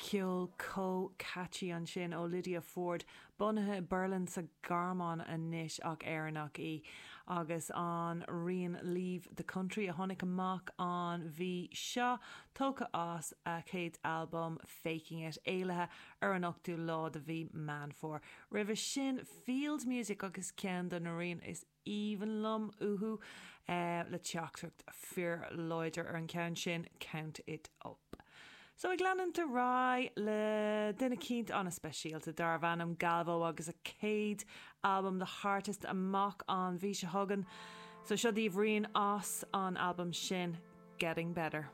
Ceol chomh catchy ansin ó Lydia Ford, bunaithe i Berlin sa Ghearmáin anois ach Éireannach í, agus an rian Leave the Country a tháinig amach an mhí seo, tógtha as a chéad albam Faking It, éilithe ar an 8ú lá de mhí Meán Fómhair. Roimhe sin Field Music agus ceann de na rian is aoibhinn liom uathu le teachtaireacht fíorláidir ar an cheann sin, Count It Up. So ag leanúint ar aghaidh le duine eicínt an-speisialta darbh ainm Galvó agus a chéad albam The Heartist amach an mhí seo chugainn. So seo daoibh rian as an albam sin, Getting Better.